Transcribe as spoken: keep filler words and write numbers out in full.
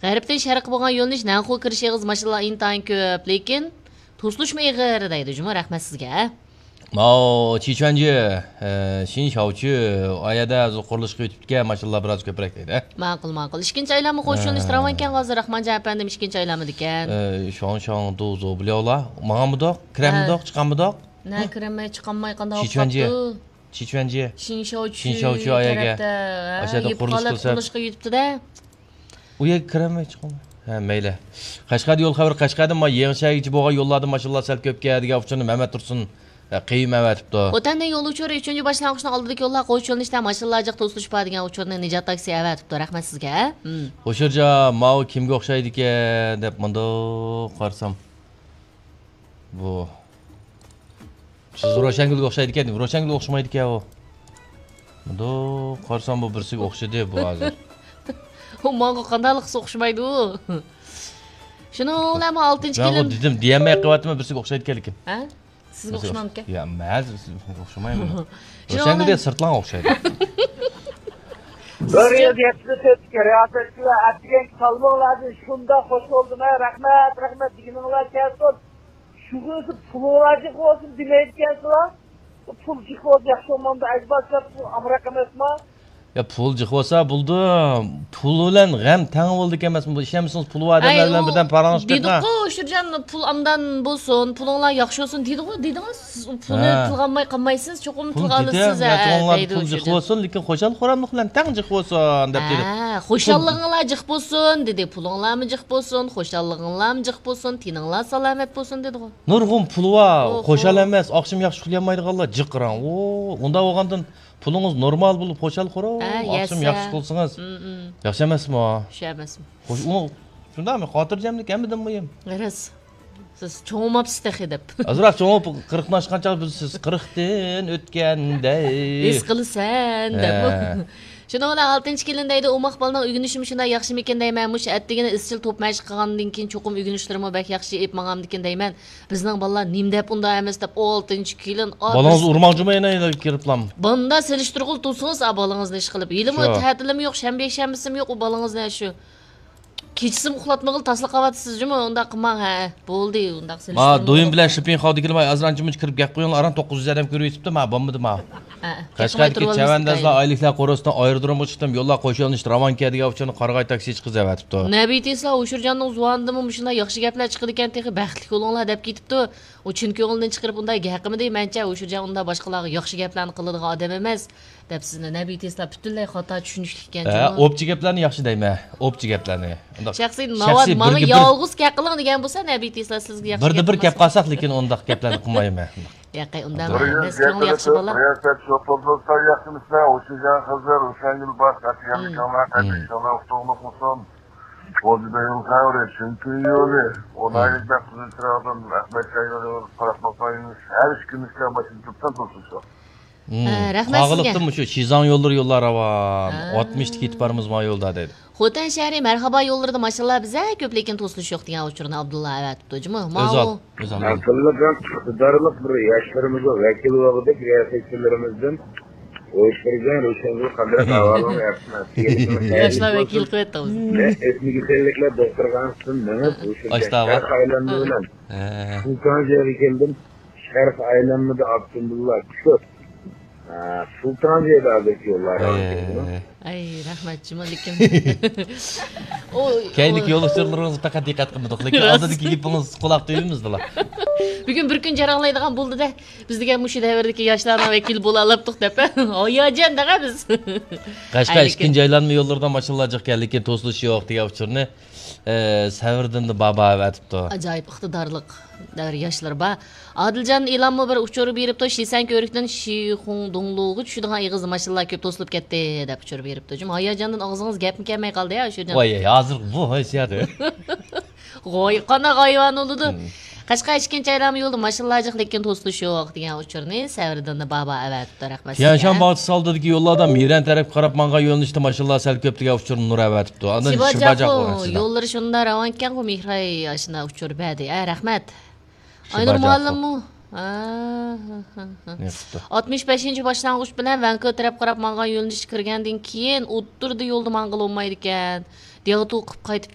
غەربتىن شەرققە بولغان يۆنىلىش نەنخۇ كىرىش ئېغىز ماشىنىلار ئىنتايىن كۆپ، لېكىن توسۇلۇشمۇ ئېغىر دەيدۇ جۇمۇ، رەھمەت سىزگە. ماۋۇ چىچۈەنجى، ئە، شىنشاۋچۈ، ئۇ يەردە ھازىر قۇرۇلۇش قىلىۋېتىپتىكەن، ماشىنىلار بىراز كۆپرەك دەيدۇ. ماقۇل، ماقۇل. ئىككىنچى ئايلانما قوشۇلۇش ھە. راۋانكەن ھازىر، راخمانجان ئەپەندىم ئىككىنچى ئايلانمىدىكەن. ئە، شاڭ شاڭ دۇ زو بىلەۋلا. ماڭامدۇق، كىرەمدۇق، ھە. چىقامدۇق؟ نە كىرەلمەي، چىقالماي قانداق بولۇپ قاپتۇ؟ چىچۈەنجى. شىنشاۋچۈ، شىنشاۋچۈ ئايەگە. تەرەپتە، ھە، ئاشۇ يەردە يېپىپ قۇرۇلۇش قالىپ قىلسا. قۇرۇلۇشقا يېتىپتۇ-دە. ئۇ يەرگە كىرەلمەي چىقىمەن. ھە، مەيلى. قەشقەردە يول خەۋىرى، قەشقەردىن ما يېڭىچەگىچە بولغان يوللاردا ماشىنىلار سەل كۆپكەن دېگەن ئۇچۇرنى مەمەت تۇرسۇن، ھە، قېيۇم ئەۋەتىپتۇ. خوتەندە يول ئۇچۇرى، ئۈچىنچى باشلانغۇچنىڭ ئالدىدىكى يوللار قوش يۆنىلىشتە ماشىنىلار جىق توسۇلۇشۇپ بار دېگەن ئۇچۇرنى نىجات تاكسى ئەۋەتىپتۇ. رەھمەت سىزگە. ھە. ھوشۇرجان، ماۋۇ كىمگە ئوخشايدىكەن دەپ مۇنداق قارىسام. بۇ. سىز روشەنگۈلگە ئوخشايدىكەن، روشەنگۈلگە ئوخشىمايدىكەن ئۇ. مۇنداق قارىسام بۇ بىرسىگە ئوخشىدى بۇ ھازىر. ئۇ ماڭا قانداقلىق قىلسا ئوخشىمايدۇ. شۇنىڭ بىلەن بۇ ئالتىنچى مەن ئۇ كېلىن. دېدىم، دېيەلمەي قېلىۋاتىمەن، بىرسىگە ئوخشايدىكەنلىكىم. ھە؟ سىزگە ئوخشىمامدىكەن؟ يا، مەن سىزگە ئوخشىمايمەن. شۇنىڭ روشەنگۈل بىلەن دېگەن سىرتلاڭ ئوخشايدۇ. بىر يىل يەتتە تۆت رىياسەتچىلەر ئەتىگەنگە سالماڭلاردىن شۇنداق خوش بولدۇم، ھە، رەھمەت، رەھمەت دېگىنىڭلار كەلسۇن. شۇغىنىسى پۇلۇڭلار جىق بولسۇن دېمەيدىكەنسىلەر. پۇل جىق بولسا ياخشى بولمامدۇ؟ ئەجەبا سەت پۇل ئامراق ئەمەسما؟ يا، پۇل جىق بولسا بولدى. پۇل بىلەن غەم تەڭ بولىدىكەن ئەمەسمۇ؟ بۇ ئىشەنمىسىڭىز پۇل بار ئادەملەر بىلەن بىردەم پاراڭلىشىپ بېقىڭ. دېدۇققۇ، ئۇشۇرجان، پۇل ئامدان بولسۇن، پۇلۇڭلار ياخشى بولسۇن دېدىغۇ، دېدىڭىز. سىز پۇلنى ھە. تىلغا ئالماي قالمايسىز، چوقۇم تىلغا ئالىسىز، ھە، دەيدۇ پۇل ئۇشۇرجان. جىق بولسۇن، لېكىن خۇشال-خۇراملىق بىلەن تەڭ جىق بولسۇن، دەپ دېدى. ھە، خۇشاللىقىڭلار جىق بولسۇن، دېدى. پۇلۇڭلارمۇ جىق بولسۇن، خۇشاللىقىڭلارمۇ جىق بولسۇن، تېنىڭلار سالامەت بولسۇن، دېدىغۇ. نۇرغۇن پۇلى بار، ئوھو. خۇشال ئەمەس، ئاخشىمى ياخشى ئۇخلىيالمايدىغانلار جىق راڭ. ئۇ، ئۇنداق بولغاندىن پۇلىڭىز نورمال بولۇپ خۇشال خۇرام، ھە، ئاخشىمى يەسە. ياخشى ئۇخلىسىڭىز. ئىم، ئىم. ياخشى ئەمەسمۇ؟ ياخشى ئەمەسمۇ؟ خوش، ئۇ، شۇنداقمۇ؟ خاتىرجەملىك ھەممىدىن مۇھىم. راست. سىز چوڭىماپسىز تېخى دەپ. ئازراق چوڭىيىپ، قىرىقتىن ئاشقان چاغ بىز سىز قىرىقتىن ئۆتكەندەك. ھېس قىلىسەن دەپ. ھە. شۇنىڭ بىلەن ئالتىنچى كېلىن دەيدۇ، ئوماق بالىنىڭ ئۆگىنىشىمۇ شۇنداق ياخشىمىكىن دەيمەن. مۇشۇ ئەتىگىنى ئىزچىل توپ مەشىق قىلغاندىن كېيىن چوقۇم ئۆگىنىشلىرىمۇ بەك ياخشى ئېلىپ ماڭامدىكىن دەيمەن. بىزنىڭ بالىلار نېمە دەپ ئۇنداق ئەمەس دەپ، ئالتىنچى كېلىن، ئا، بالىڭىزنى بىر ئۇرماڭچۇما يەنە، يەنە كىرىپلام. بۇندا سېلىشتۇرغىلى تۇرسىڭىز، ئا، بالىڭىزنى ئىشقىلىپ. ھېلىمۇ شۇ. تەتىلىمۇ يوق، شەنبە، يەكشەنبىسىمۇ يوق، ئۇ بالىڭىزنى شۇ. كېچىسىمۇ ئۇخلاتمىغىلى تاسلا قاۋاتىسىز جۇمۇ، ئۇنداق قىلماڭ، ھە. بولدى، ئۇنداق ما، سېلىشتۇرما. دويۇن بىلەن شىپىڭ خاۋدىكىلىماي ئازرانچە مۇنچە كىرىپ گەپ قويۇڭلار، ئاران توققۇز يۈز ئادەم كۆرۈۋېتىپتۇ، ما، بولمىدى، ما. ھە، قەشقەردىكى چەۋەندازلار ئايلىكلار قورۇسىدىن ئايرودرومغا چىقتىم، يوللار قوش يۆنىلىشتە راۋانكە دېگەن ئۇچۇرنى قارىغاي تاكسىچى قىز ئەۋەتىپتۇ. نەبى تېسلا ئۇشۇرجاننىڭ زۇۋانىدىنمۇ مۇشۇنداق ياخشى گەپلەر چىقىدىكەن، تېخى بەختلىك بولۇڭلار دەپ كېتىپتۇ. ئۇ چىن كۆڭلىدىن چىقىرىپ ئۇنداق گەپ قىلمىدى، مەنچە ئۇشۇرجان ئۇنداق باشقىلارغا ياخشى گەپلەرنى قىلىدىغان ئادەم ئەمەس. دەپ سىزنى نەبى تېسلا پۈتۈنلەي خاتا چۈشىنىشلىككەن ھە، جۇمۇ. ئوپچە گەپلەرنى ياخشى دەيمەن. ئوپچە گەپلەرنى. ئۇنداق شەخسىي شەخسىي ناۋادا ماڭا بىرگە بىر يالغۇز گەپ قىلىڭ دېگەن بولسا، نەبى تېسلا سىزگە ياخشى بىردە گەپ بىر گەپ قىلماس. قىلساق، لېكىن ئۇنداق گەپلەرنى قىلمايمەن. ياقەي، ئۇنداق بىر ئەمەس، يۈز كۆڭلى ياخشى بالا. رىياسەت شوپۇردۇرسا ياخشىمىسىلەر، ئوشۇجان خىزىر، روشەنگۈل باش، ئەتىگەنلىكىڭلار، مم. قەتىيىشىڭلار ئۇتۇقلۇق بولسۇن. بولدى بەينىڭ خەۋىرى، چۈنكى يولى، ئۇنايلىق مم. بەك قىزىل چىراغدىن، ئەخمەت شاينىڭ قاراپ باقايمىز، ھەر ئىككى مىشكا ماشىنا تۇرۇپسەن تۇرسۇن شۇ. ھە، رەھمەت سىزگە. قاغىلىقتىن مۇشۇ شىزاڭ يوللىرى يوللار راۋان. ھە. ئاتمىشتا كېتىپ بارىمىز ما يولدا دەيدۇ. خوتەن شەھىرى مەرھابا يوللىرىدا ماشىنىلار بىزە كۆپ، لېكىن توسۇلۇش يوق دېگەن ئۇچۇرنى ئابدۇللا ئەۋەتىپتۇ جۇمۇ. ماۋۇ. ئۆزال، ئۆزال. ئەقىللىق ھەم ئىقتىدارلىق بىر ياشلىرىمىزغا ۋەكىل بولغۇدەك رىياسەتچىلىرىمىزدىن ئويۇشتۇرغان روشەنگۈل قاندىراق ئەھۋالىڭىز ياخشىمۇ؟ ياشلار ۋەكىل قىلىۋەتتى بىزنى. ئەسمىگە كەللىكلەر دوختۇرخانىسىدىن مېڭىپ، ئاشۇ ئاشتاۋا. شەھەر ئايلانما ھە. بىلەن ھە. سۇلتانجىغا كەلدىم. شەرق ئايلانمىدا ئاپتوموبىللار كۆپ. ھە، سۇلتانجىدا ھازىرقى يوللار ھە. ئاي، رەھمەت جۇمۇ، لېكىن. ئۇ، كەينىدىكى ئۇ يول ئۇچۇرلىرىڭىزغا پەقەت دىققەت قىلمىدۇق، لېكىن راست. ئالدىدىكى گېپىڭىز قۇلاق تۈۋىمىزدىلا. بۈگۈن بىر كۈن جاراڭلايدىغان بولدى-دە. بىز دېگەن مۇشۇ دەۋردىكى ياشلارنىڭ ۋەكىلى بولالاپتۇق دەپ، ھە؟ ھاياجان دەڭە بىز. قەشقەر ئىككىنچى ئايلانما يوللىرىدا ماشىنىلار جىق ئىكەن، لېكىن توسۇلۇش يوق دېگەن ئۇچۇرنى ئى، سەۋرىدىن بابا ئەۋەتىپتۇ. ئاجايىپ ئىقتىدارلىق دەۋر ياشلىرى بار. ئادىلجان ئېلانمۇ بىر ئۇچۇر بېرىپتۇ، شىسەن كۆۋرۈكتىن شىخۇڭدۇڭلۇغا چۈشىدىغان ئېغىز ماشىنىلار كۆپ توسۇلۇپ كەتتى، دەپ ئۇچۇر بېرىپتۇ. جۇمۇ ھاياجاندىن ئاغزىڭىز گەپمۇ كەلمەي قالدى يا، ئۇچۇر. ۋاي، ھازىر بۇ ھېسسىياتى. غوي، قانداق ھايۋان بولىدۇ؟ مم. قەشقەر ئىككىنچى ئايلانما يولدا ماشىنىلار جىق، لېكىن توسۇلۇش يوق، دېگەن ئۇچۇرنى سەۋرىدىن بابا ئەۋەتىپتۇ. رەھمەت سىزگە. تيەنشان باغچىسى ئالدىدىكى يوللاردا مىرەن تەرەپكە قاراپ ماڭغان يۆنىلىشتە ماشىنىلار سەل كۆپ، دېگەن ئۇچۇرنى نۇر ئەۋەتىپتۇ. ئاندىن شىباجاقۇ، شىباجاقۇ ماشىنا. يوللىرى شۇنداق راۋانكەنغۇ، مېھراي ئاشۇنداق ئۇچۇر بەردى. ھە، رەھمەت. ئاينۇر مۇئەللىممۇ؟ ھە، ھە، ھە، ھە. ئاتمىش بەشىنچى باشلانغۇچ بىلەن ۋەنكۇ تەرەپ قاراپ ماڭغان يۆنىلىشكە كىرگەندىن كېيىن، ئوتتۇرىدا يولدا ماڭغىلى بولمايدىكەن. دياۋتۇ قىپ قايتىپ